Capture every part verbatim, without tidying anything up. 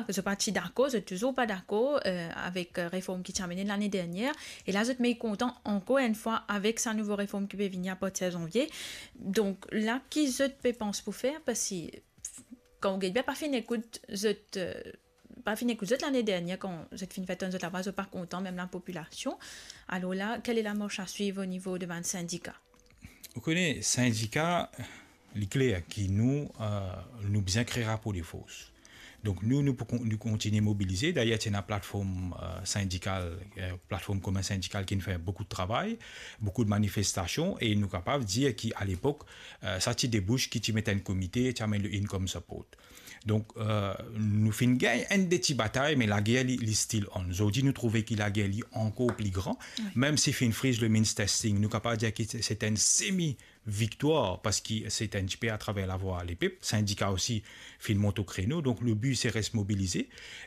zot pa ti dakor, zot touzour pa dakor, eh, avek, eh, reform ki ti amene lane dernier. E la, zot mekontan ankor enn fwa avek sa nouvo reform ki pe vini apartir zanvie. Donk, la, ki zot pe pans pou fer? Parski, kan ou get bien, pa finn ekout zot, eh, pa finn ekout zot lane dernier, kan zot finn fer tann zot lavwa, zot pa kontan, mem lapopilasion. Alor la, kel e lamars a swiv o nivo de bann sindika? Ou kone, sindika, li kler ki nou, eh, nou bizin kre rapor de fors. Donk nou, nou pou kon-, nou kontinie mobilize. Dayer, ti ena platform, eh, sindikal, eh, platform komin sindikal ki finn fer boukou de travay, boukou de manifestasion, e nou kapav dir ki, a lepok, eh, sa ti debous ki ti met enn komite, ti amenn le income support. Donk, eh, nou finn gagn enn de ti batay, me lager li, li still on. Zordi, nou trouve ki lager li ankor pli gran. Wi. Mem si finn friz le means testing, nou kapav dir ki se, se enn semi viktwar, parski se enn tipe atraver lavwa lepep. Sindika osi finn mont o kreno, donk le bi se res mobilize.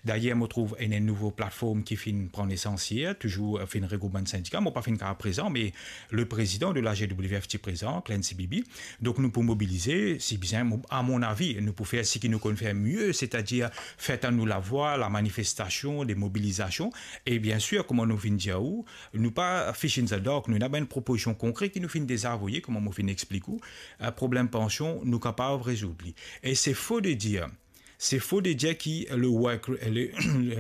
Dayer, mo trouv ena enn nouvo platform ki finn pran nesans yer, touzour, eh, finn regroup bann sindika. Mo pa finn kapav prezan, me le prezidan de la G W F ti prezan, Clancy Bibi. Donk nou pou mobilize, si bizin, mo, a mon avi, nou pou fer seki nou konn fer mie, setadir fer tann nou lavwa, lamanifestasion, de mobilizasion. E biensir, kouma nou finn dir ou, nou pa fish in the dark, nou ena bann propozision konkre ki nou finn deza avoye, kouma mo finn explik ou, eh, problem pansion, nou kapav rezoud li. E se fo de dir, se fo de dir ki le work, le,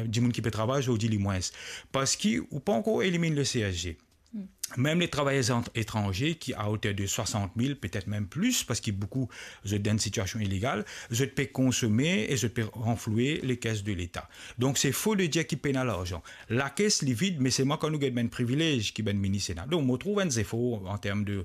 dimoun ki pe travay zordi li mwins, parski ou pa ankor eliminn le C S G. Hmm. Mem le travayer an-, etranze ki a oter de swasant mil, petet mem plis, parski boukou zot dan enn sitiasion ilegal, zot pe konsome e zot pe ranfloue lekes de Leta. Donk se fo de dir ki pena larzan. Lakes li vid, me selman kan nou get bann privilez ki bann minis ena. Donk mo trouv enn zefor an term de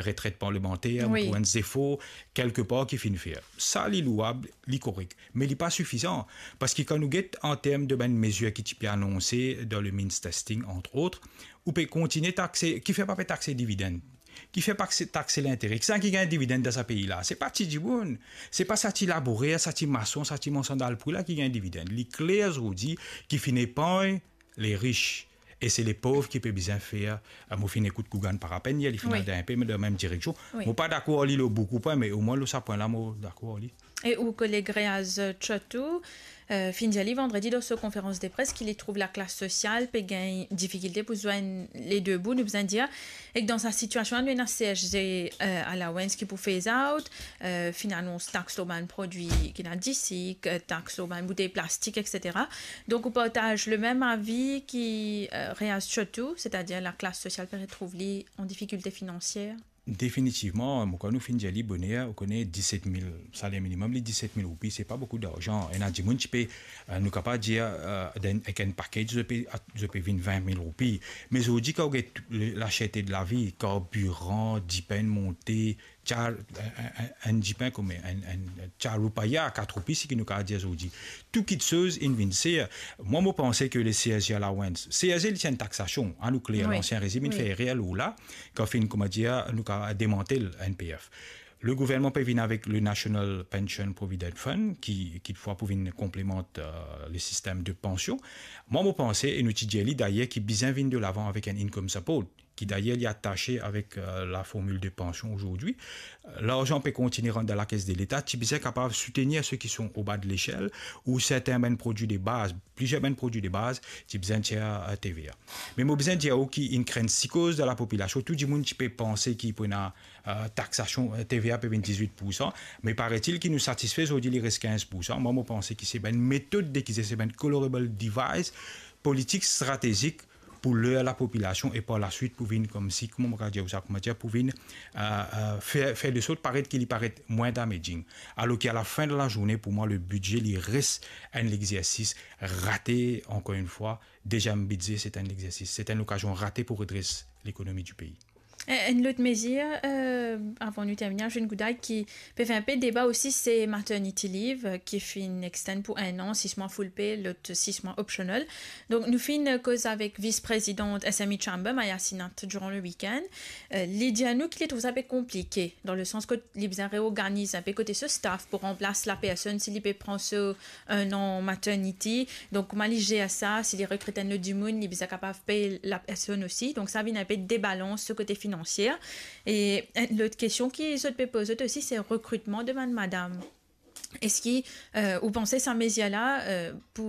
retret parlemanter, mo Wi. trouv enn zefor kelkepar ki finn fer. Sa li louab, li korek, me li pa sifizan, parski kan nou get an term de bann mezir ki ti pe anonse dan le means testing, entre autres, ou pe kontinie takse, kifer pa pe takse dividenn? Kifer pa takse, takse lintere? Kisannla ki gagn dividenn dan sa pei la? Se pa ti dimoun, se pa sa ti labourer, sa ti mason, sa ti mansan dal pri la ki gagn dividenn. Li kler zordi ki finn epargn le ris, e se lepov ki pe bizin fer. Ah, mo finn ekout Gougarn Parapenn yer, li finn Wi. al dan enpe, me dan mem direksion. Wi. Mo pa dakor ar li lor boukou pwin, me omwin lor sa pwin la, mo dakor ar li. E ou koleg Reaz Chotou, eh, finn dir li vandredi dan so konferans de pres ki li trouv laklas sosial pe gagn difikilte pou zwenn le de bout, nou bizin dir. Ek dan sa sitiasion la, nou ena C S G, eh, allowance ki pou phase out, eh, finn anons tax lor bann prodwi ki ena disik, eh, tax lor bann boutey plastik, et cetera. Donk ou partaz le mem avi ki, eh, Reaz Chotou, setadir laklas sosial pe retrouv li an difikilte finansier? Definitivman, mo krwar nou finn dir li boner, ou kone diset mil, saler minimem, li diset mil roupi, se pa boukou larzan. Ena dimoun ti pe, eh, nou kapav dir, eh, dan, ek enn package, zot pe, zot pe vinn vin mil roupi. Me zordi, kan ou get le, laserte de lavi, karbiran, dipinn monte, tia, eh, eh, eh, enn dipinn kouma enn, enn tia roupaya, kat roupi, seki nou kapav dir zordi. Tou kiksoz inn vinn ser. Mwa, mo panse ke le C S G allowance, C S G li ti enn taksasion, anou kler, Wi. lansien rezim inn Wi. fer erer lor la, kan finn, kouma dir, nou kapav demantel N P F. Le gouvernman pe vinn avek le National Pension Provident Fund, ki, ki fwa pou vinn konplemant, eh, le sistem de pansion. Mwa, mo panse, e nou ti dir li dayer, ki bizin vinn de lavan avek enn income support, ki dayer li atase avek, eh, la formil de pansion ozordi. Eh, larzan pe kontinie rant dan lakes de Leta, ti bizin kapav soutenir seki son oba de lesel, ou sertin bann prodwi de baz, plizier bann prodwi de baz, ti bizin tir, eh, T V A. Me mo bizin dir ou ki inn krinn sikoz dan lapopilasion, tou dimoun ti pe panse ki pou ena, eh, taksasion, eh, T V A pe vinn dizwit poursan, me paraît-il ki nou satisfe, zordi li res kinz poursan. Mwa, mo panse ki se bann metod degize, se bann colorable device, politik stratezik pou ler lapopilasion e par laswit pou vinn koumsi, kouma mo kapav dir ou sa, kouma dir, pou vinn, eh, eh, fer, fer de sort paret ki li paret mwin damaging. Alor ki a la fin de la zourne, pou mwa, le bidze, li res enn lexersis rate, ankor enn fwa, dezienm bidze, se enn lexersis, se enn lokazion rate pou redres lekonomi di pei. Eh, enn lot mezir, eh, avan nou termine, Jean Gouday, ki pe fer enpe deba osi, se maternity leave, eh, ki finn extend pou enn an, sis mwa full pay, lot sis mwa optional. Donk, nou finn, eh, koz avek vis-prezidant S M E Chamber, Maya Sinath, durant le week-end. Eh, li dir nou ki li trouv sa pe konplike, dan le sans ke li bizin reorganiz enpe kote so staff pou ranplas lapersonn si li pe pran so enn an maternity. Donk, kouma li zer sa, si li rekrit enn lot dimoun, li bizin kapav pey lapersonn osi. Donk, sa vinn enpe debalans so kote finansie. E enn lot kestion ki zot pe poz zot osi, se rekritman de bann madam. Eski, euh, ou panse sa mezir la, euh, pou